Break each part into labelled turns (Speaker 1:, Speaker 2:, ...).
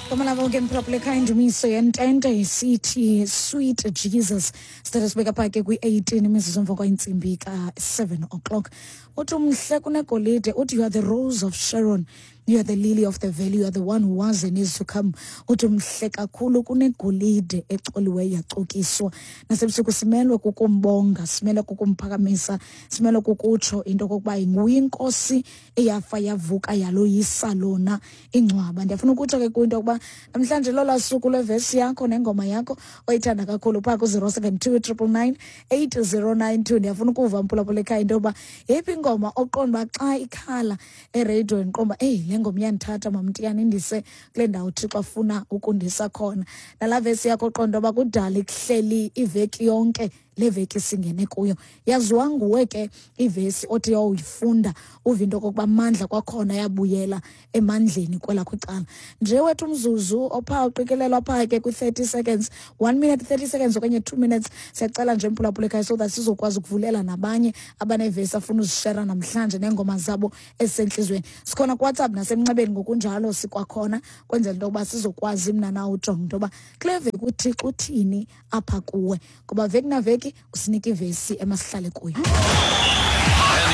Speaker 1: Kwamalavo ke mphulaphula ekhaya, indumiso yentente isithi "Sweet Jesus". Sithatha sibeka phaa ke kwi-18 imizuzu emva kwentsimbi ka-7 o'clock. Uthi umhle kunegolide, uthi you are the Rose of Sharon, you are the Lily of the Valley, you are the one who was and is to come. Uthi umhle kakhulu kunegolide ecoliweyo yacokiswa. Nasebusuku simelwe kukumbonga, simelwe kukumphakamisa, simelwe kukutsho into okokuba nguye inkosi eyafa yavuka yaloyisa lona ingcwaba. Ndiyafuna ukutsho ke kwinto yokuba namhlanje lolaa suku lwevesi yakho nengoma yakho oyithanda kakhulu phaa ku-072 999 8092. Ndiyafuna ukuva, mphulaphula ekhaya, into yoba yeyiphi ingoma oqonda uba xa ikhala ereyidweni qomba, eyi, le ngoma iyandithatha, mamntiyana, indise kule ndawo Thixo afuna ukundisa khona. Nalaa vesi yakho oqonda uba kudala ikuhleli iveki yonke, le veki singene kuyo, yaziwa nguwe ke ivesi othi yawuyifunda uve into okokuba amandla kwakhona yabuyela emandleni kwelakho icala nje. Wethu umzuzu ophaa uqikelelwa phaa ke kwi-30 seconds, 1 minute 30 seconds okanye 2 minutes. Siyacela nje, mphulaphula ekhaya, so that sizokwazi ukuvulela nabanye abaneevesi afuna uzishera namhlanje neengoma zabo ezisentliziyweni. Sikhona kuWhatsApp nasemnxebeni ngokunjalo, sikwakhona kwenzela into yokuba sizokwazi mna nawe ujonga into yoba kule veki uThixo uthini apha kuwe, ngoba veki naveki usinika ivesi emasihlale kuyo.
Speaker 2: And the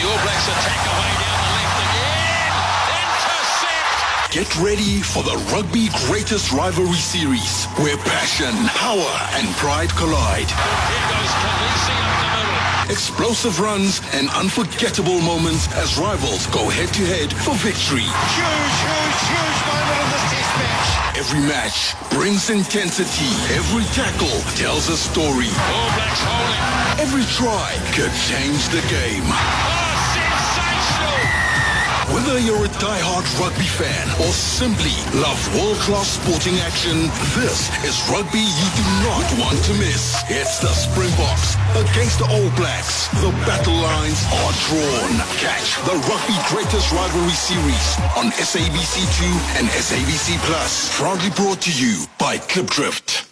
Speaker 2: All Blacks attack away down the left again. Intercept!
Speaker 3: Get ready for the Rugby Greatest Rivalry Series, where passion, power, and pride collide.
Speaker 2: Here goes Khaleesi up the middle.
Speaker 3: Explosive runs and unforgettable moments as rivals go head to head for victory.
Speaker 4: Huge, huge, huge moment in this test match.
Speaker 3: Every match brings intensity. Every tackle tells a story.
Speaker 2: All Blacks holding.
Speaker 3: Every try could change the game.
Speaker 2: Oh, sensational!
Speaker 3: Whether you're a die-hard rugby fan or simply love world-class sporting action, this is rugby you do not want to miss. It's the Springboks against the All Blacks. The battle lines are drawn. Catch the Rugby Greatest Rivalry Series on SABC2 and SABC Plus. Proudly brought to you by Klipdrift.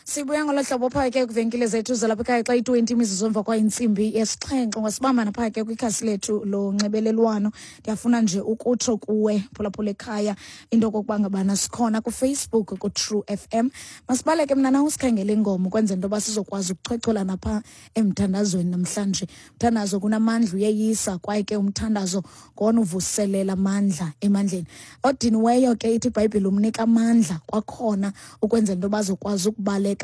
Speaker 1: Sibuya ngolo hlobo phaa ke kwivenkile zethu zalapha ekhaya xa i-20 imizuzu emva kwayintsimbi yesixhenxe. Ungasibamba naphaa ke kwikhasi lethu lonxibelelwano. Ndiyafuna nje ukutsho kuwe, phulaphula ekhaya, into okokuba ngabana sikhona kuFacebook, kuTrue FM. Masibaleke mna nawe sikhangele ingoma ukwenzela into yoba sizokwazi ukuchwechwela napha emthandazweni namhlanje. Umthandazo kunamandla, uyeyisa, kwaye ke umthandazo ngowona uvuselela amandla emandleni. Odiniweyo ke, ithi iBhayibhile, umnika amandla kwakhona ukwenzela into yoba azokwazi ukubaleka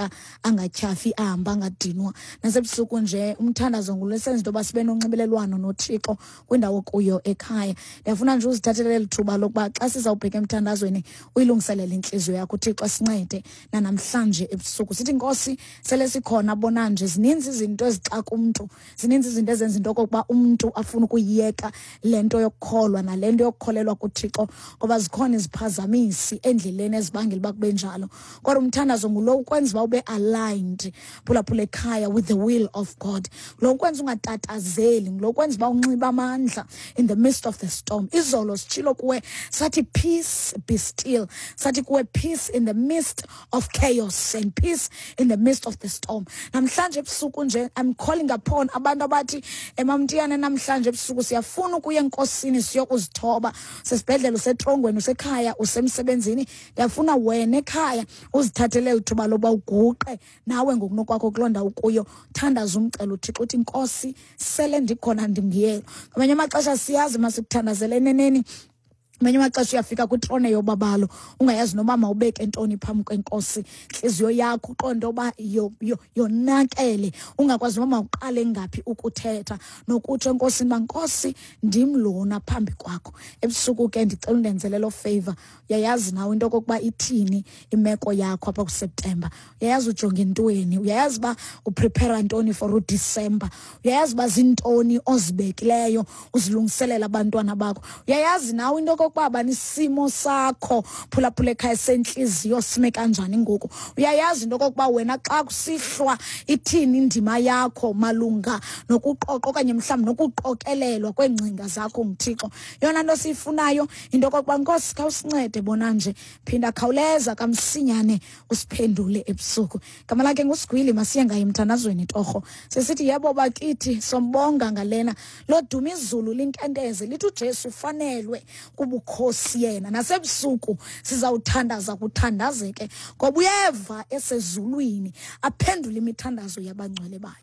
Speaker 1: angatyhafi, ahambe angadinwa. Nasebusuku nje umthandazo ngulo esenza into yoba sibe nonxibelelwano noThixo kwindawo kuyo ekhaya. Ndiyafuna nje uzithathele eli thuba lokuba xa sizawubheka emthandazweni uyilungiselele intliziyo yakho. UThixo asincede nanamhlanje ebusuku. Sithi, Nkosi, sele sikhona bona nje, zininzi izinto ezixaka umntu, zininzi izinto ezenza into okokuba umntu afune ukuyiyeka le nto yokukholwa nale nto yokukholelwa kuThixo, ngoba zikhona iziphazamisi endleleni ezibangela uba kube njalo. Kodwa umthandazo ngulo ukwenza uba ube aligned, phulaphula ekhaya, with the will of God. Ngulo ukwenza ungatatazeli, ngulo ukwenza uba unxibe amandla in the midst of the storm. Izolo sitshilo kuwe sathi, "Peace, be still." Sathi kuwe, peace in the midst of chaos and peace in the midst of the storm. Namhlanje ebusuku nje I'm calling upon abantu abathi, "Emamntiyane, namhlanje ebusuku siyafuna ukuya enkosini siyokuzithoba." Sesibhedlele, usetrongweni, usekhaya, usemsebenzini, ndiyafuna wena ekhaya uzithathele ithuba loba uguqe nawe ngokunokwakho kuloo ndawo kuyo, thandaza, umcela uThixo, uthi, "Nkosi, sele ndikhona, ndingiyelo." Ngamanye amaxesha siyazi masikuthandazele eneneni. Ngamanye amaxesha uyafika kwitrone yobabalo ungayazi noba mawubeke ntoni phambi kwenkosi. Intliziyo yakho uqonde uba yonakele, ungakwazi noba mawuqale ngaphi ukuthetha nokutsho enkosini uba, "Nkosi, ndim lona phambi kwakho ebusuku." Ke ndicela undenzele loo favor. Uyayazi nawe into okokuba ithini imeko yakho apha kuSeptemba. Uyayazi ujonge entweni, uyayazi uba uprepara ntoni for uDisemba, uyayazi uba zintoni ozibekileyo uzilungiselela abantwana bakho. Uyayazi nawe into okokuba banisimo sakho, phulaphula ekhaya, sentliziyo sime kanjani ngoku. Uyayazi into okokuba wena xa kusihlwa ithini indima yakho malunga nokuqoqa okanye mhlawumbi nokuqokelelwa kweengcinga zakho nguThixo. Yona nto siyifunayo into okokuba, Nkosi, khawusincede bona nje, phinda khawuleza kamsinyane usiphendule ebusuku. Gama lakhe nguSigwili. Masiye ngaye emthandazweni torho, sesithi, "Yebo bakithi, sombonga ngalena loduma izulu linkenteze, lithi uJesu ufanelwe." unobukhosi yena. Nasebusuku sizawuthandaza kuthandazeke, ngoba uyeva esezulwini aphendule imithandazo yabangcwele bakhe.